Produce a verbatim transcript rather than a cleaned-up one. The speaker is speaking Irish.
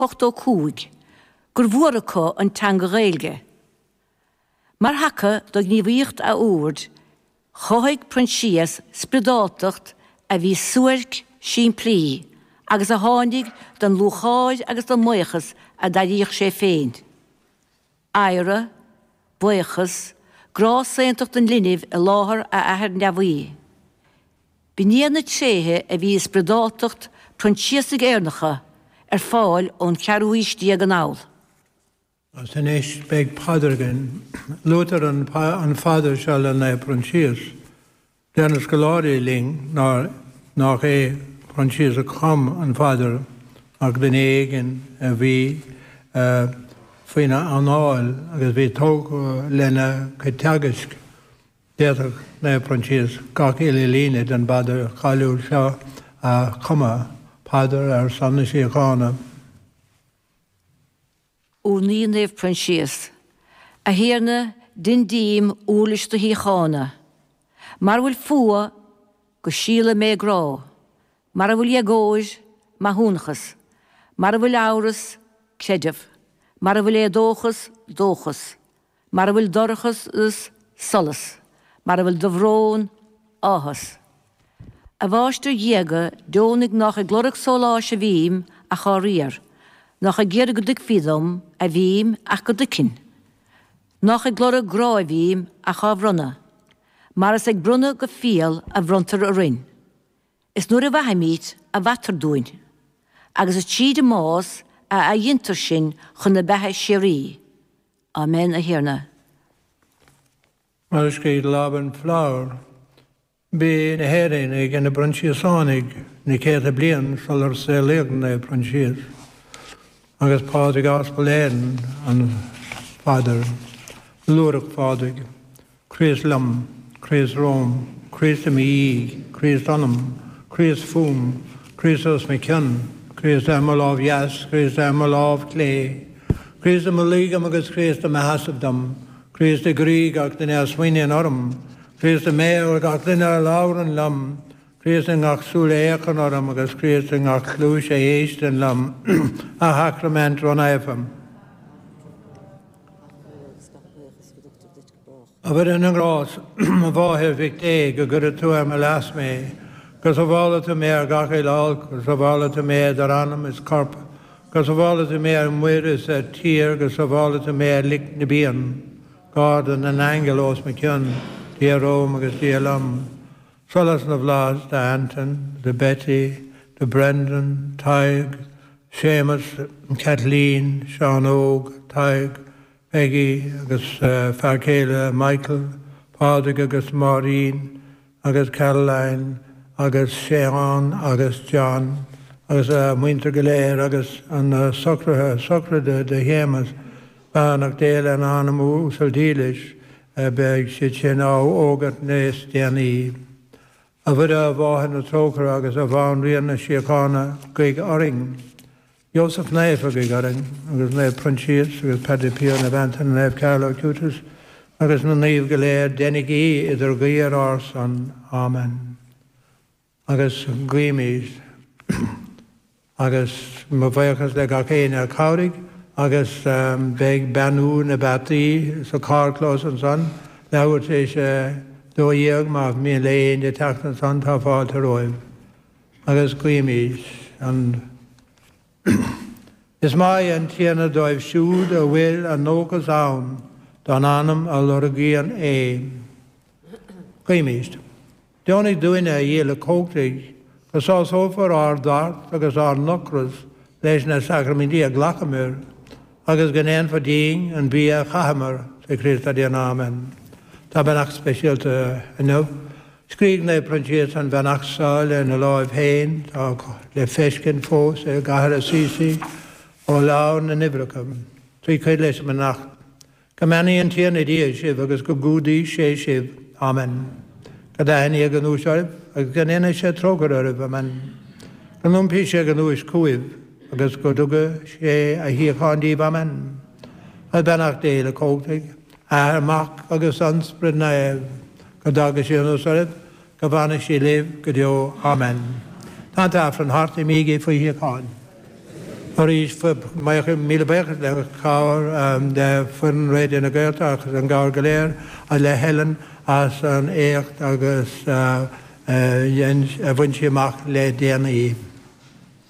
ochtó cúig gur mhór acu an teanga Ghaeilge. Mar thaca do ghníomhaíocht a oird, chothaigh Proinsias spioradáltacht a bhí suairc simplí agus a tháinig den lúcháir agus den mbuíochas a d'airíodh sé féin. Adhradh, buíochas, grá saontacht an linbh i láthair a Athar neamhaí. B'in iad na tréithe a bhí i spioradáltacht Proinsiasaigh Éireannacha ar fáil ón cheathrú haois déag anall. Agus anois beidh paidir againn. Luaitear an, an phaidir seo le Naomh Proinsias. Deir na scoláirí linn nár, nach é Proinsias a chum an phaidir ach duine éigin a bhí uh, faoina anáil agus bhí tógtha lena chuid teagaisc. D'fhéadfadh Naomh Proinsias gach uile líne den phaidir cháiliúil seo a chumadh, paidir ar son na síochána. Urnaí Naomh Proinsias. A Thiarna, dein díom uirlis do shíochána. Mar a bhfuil fuath, go síola mé grá. Mar a bhfuil éagóir, maithiúnachas. Mar a bhfuil amhras, creideamh. Mar a bhfuil éadóchas, dóchas. Mar a bhfuil dorchas, solas. Mar a bhfuil dobhrón, áthas. A Mháistir Dhiaga, deonaigh nach ag lorg sóláis a bhím ach á riar, nach ag iarraidh go dtuigfí dom a bhím ach go dtuigfinn, nach ag lorg grá a bhím ach á bhronnadh, mar is ag bronnadh go fial a bhronntar orainn. Is nuair a mhaithimid a mhaitear dúinn, agus is tríd an mbás a athghintear sinn chun na beatha síoraí. Amen, a Thiarna. Mar a scríobh Laban Flower, Bhí na hÉireannaigh ina bProinsiasánaigh na céadta bliain sular saolaíodh Naomh Proinsias, agus Pádraig Aspal Éireann an phaidir, Lúireach Phádraig, Críost liom, Críost romham, Críost i mo dhiaidh, Críost ionam, Críost fúm, Críost os mo chionn, Críost ar mo lámh dheas, Críost ar mo lámh chlé, Críost i mo luí dom agus Críost i mo sheasamh dom, Críost i gcroí gach duine a smaoiníonn orm, Críost i mbéal gach duine a labhrann liom, Críost i ngach súil a fhéachann orm agus Críost i ngach cluais a éisteann liom, a Shacraimint rónaofa. A Mhuire na nGrást, a Mháthair Mhic Dé, go gcuire tú ar mo leas mé, go sábhála tú mé ar gach uile olc, go sábhála tú mé idir anam is corp, go sábhála tú mé ar muir is ar tír, go sábhála tú mé ar lic na bpian. Garda na n-aingeal os mo chionn, Dia romham agus Dia liom. Solas na bhFlaitheas do Anton, do Betty, do Brendan, Tadhg, Séamus, Kathleen, Seán Óg, Tadhg, Peggy agus fear céile Michael, Pádraig agus Máirín agus Caroline agus Séan agus John agus a muintir go léir agus an socruithe sochraide do Shéamus, beannacht Dé lena anam uasal dílis, beidh siad sin á fhógairt níos déanaí. A Mhuire, a Mháthair na Trócaire agus a Bhanríon na Síochána, guigh orainn. Iósaf Naofa, guigh orainn, agus Naomh Proinsias agus Padre Pio, Naomh Antaine, Naomh Carlo Acutis agus na naoimh go léir, déanaigí idirghuí ar ár son. Amen. Agus guímid. Agus mo bhuíochas le gach éinne a chabhraigh agus beidh beannú na bpeataí sa carrchlós ansan leathuair tar éis a dó dhéag má mian le éinne teacht ansan tá fáilte romhaibh. Agus guímid an Is maith an Tiarna dóibh siúd a bhfuil a ndóchas ann don anam a lorgaíonn é. Guímid. Deonaigh dúinne, a Dhia uilechumhachtaigh, go sásófar ár dtart agus ár n-ocras leis na sacraimintí a ghlacamar, agus go ndéanfar dínn an bia a chaitheamar, trí Chríost ár dTiarna. Amen. Tá beannacht speisialta inniu. Scrígh Naomh Proinsias an bheannacht seo lena láimh féin, tá le feiscint fós i gcathair Assisi, ó Leabhar na nUimhreacha. Trí cuid leis an mbeannacht. Go mbeannaí an Tiarna Dia sibh agus go gcumhdaí sé sibh. Amen. Go dtaithní a ghnúis oraibh agus go ndéana sé trócaire oraibh. Amen. Go n-iompaí sé a ghnúis chugaibh agus go dtuga sé a shíocháin daoibh. Amen. Agus beannacht Dé uilechumhachtaigh, Athair, Mac agus an Spioraid Naomh, go dtaga sí anuas oraibh, go bhfana sí libh go deo. Amen. Tá an tAifreann thart, imígí faoi shíocháin. Arís míle buíochas le cabhair le foireann Raidió na Gaeltachta agus an gcabhair go léir le Helen as an éacht agus a bhain sí amach le déanaí.